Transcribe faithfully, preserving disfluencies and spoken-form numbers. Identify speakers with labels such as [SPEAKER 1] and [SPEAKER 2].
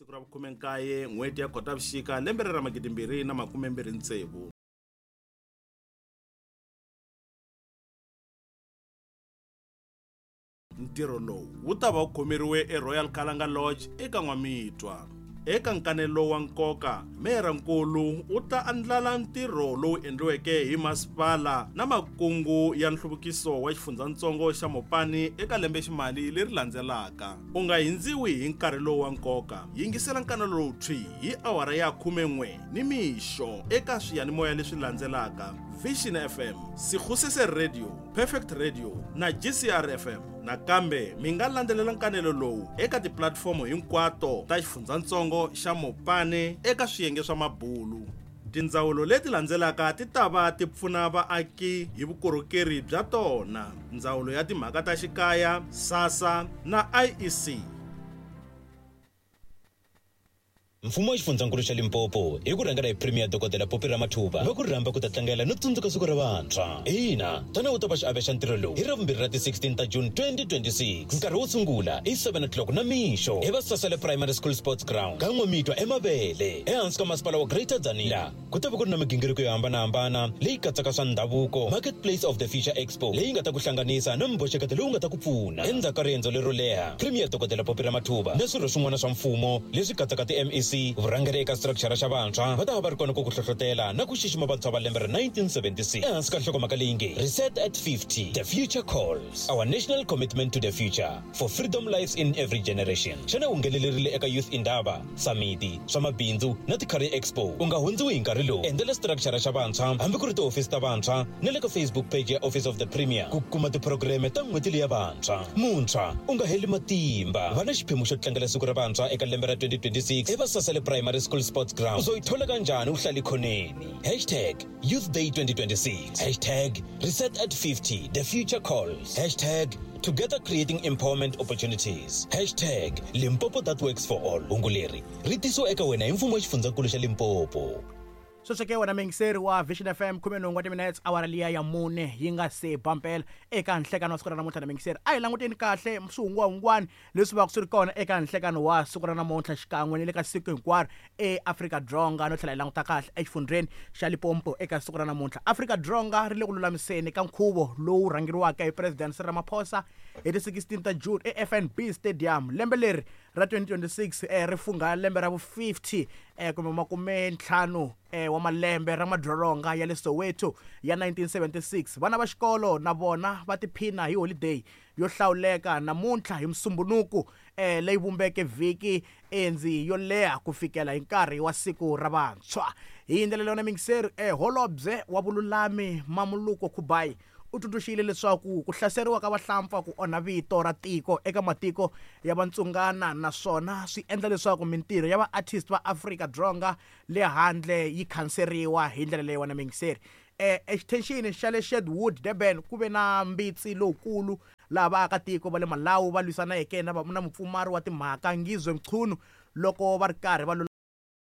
[SPEAKER 1] Siku ra vukhume-nkaye n'hweti ya Khotavuxika lembe ra magidimbirhi na makumembirhi tsevu. Ntirho lowu wu ta va wu khomeriwe eRoyal Kalanga Lodge eka N'wamitwa. Eka nkanelo wa nkoka, meyarankulu u ta andlala ntirho lowu endliweke hi masipala na makungu ya nhluvukiso wa xifundzatsongo xa Mopani eka lembeximali leri landzelaka. U nga hindziwi hi nkarhi lowu wa nkoka. Yingisela nkanelo lowu thwi hi awara ya khumen'we nimixo eka swiyanimoya leswi landzelaka: Vision F M, Sekgosese Radio, Perfect Radio na G C R F M. Nakambe mi nga landzelela nkanelo lowu eka tipulatifomo hinkwato ta xifundzatsongo xa Mopani eka swiyenge swa mabulu. Tindzawulo leti landzelaka ti ta va ti pfuna vaaki hi vukorhokeri bya tona: Ndzawulo ya Timhaka ta Xikaya, SASSA na I E C.
[SPEAKER 2] Mfumo wa xifundzankulu xa Limpopo hi ku rhangela hi Premier Dokodela Phophi Ramathuba va ku rhamba ku ta tlangela no tsundzuka siku ra vantshwa. Ina, tana u ta va xiave xa ntirho lowu hi Ravumbirhi ra ti sixteen ta June twenty twenty-six. Nkarhi wo sungula i seven o'clock na mixo hi Vasasele Primary School Sports Ground ka N'wamitwa eMavele ehansi ka masipala wa Greater Tzaneen. Laha ku ta va ku ri na migingiriko yo hambanahambana leyi katsaka swa ndhavuko, Marketplace of the Future Expo leyi nga ta ku hlanganisa na mboxeketo lowu nga ta ku pfuna. Endzhaku ka riendzo lero leha, Premier Dokodela Phophi Ramathuba na swirho swin'wana swa mfumo leswi katsaka ti M E C, vurhangeri eka structure xa vantshwa va ta va va ri kona ku ku hlohlotela na ku xixima vantshwa va lembe ra nineteen seventy-six ehansi ka nhlokomhaka leyi nge Reset at fifty, The Future Calls, Our National Commitment to the Future for Freedom Lives in Every Generation. Xana u nghenelerile eka Youth Indaba, Samiti, swa mabindzu na ti-Career Expo? U nga hundziwi hi nkarhi lowu. Endzela structure xa vantshwa hambi ku ri tihofisi ta vantshwa na le ka Facebook page ya Office of the Premier ku kuma tiphurogireme ta n'hweti leya vantshwa. Muntshwa u nga heli matimba, va na xiphemu xo tlangela siku ra vantshwa eka lembe ra twenty twenty-six eVasasele Primary School Sports Ground. Uzoyithola kanjani uhlala ekhoneni? Hashtag Youth Day twenty twenty-six, hashtag Reset at fifty, The Future Calls, hashtag Together Creating Empowerment Opportunities, hashtag Limpopo That Works for All. Hungu leri ri tisiwa eka wena hi mfumo wa xifundzankulu xa Limpopo.
[SPEAKER 3] Sweswo ke wena muyingiseri wa Vision F M, khume nhungu wa timinetse awara liya ya mune yi nga se ba mpela eka nhlekano wa siku ra namuntlha na muyingiseri. A hi languteni kahle swihungwahungwani leswi va ku swi ri kona eka nhlekano wa siku ra namuntlha xikan'we ni le ka siku hinkwaro eAfrika-Dzonga, no tlhela hi languta kahle exifundzheni xa Limpopo eka siku ra namuntlha. Afrika-Dzonga ri le ku lulamiseni ka nkhuvo lowu rhangeriwaka hi President Cyril Ramaphosa hi ti sixteen ta June e F N B Stadium. Lembe leri ra twenty twenty-six eh, ri fungha lembe ra vu fifty eh, kumbe makume ntlhanu eh, wa malembe ra madzolonga ya le Soweto ya nineteen seventy-six. Vana va xikolo na vona va tiphina hi holiday yo hlawuleka namuntlha hi Musumbhunuku eh, leyi vumbeke vhiki endzi yo leha ku fikela hi nkarhi wa siku ra vantshwa. Hi ndlela leyo na muyingiseri, eh, holobye wa vululami Mamuluko Kubayi u tsundzuxile leswaku ku hlaseriwa ka vahlampfa ku onha vito ra tiko eka matiko ya vantsungana naswona swi endla leswaku mintirho ya va-artist va Afrika-Dzonga le handle yi khanseriwa hi ndlela leyi wena muyingiseri. Eh, extension xa le Shedwood, Durban, ku ve na mbitsi lowukulu laha vaakatiko va le Malawi va lwisaneke na va-, na mupfumari wa timhaka Ngizwe Mchunu loko va ri karhi va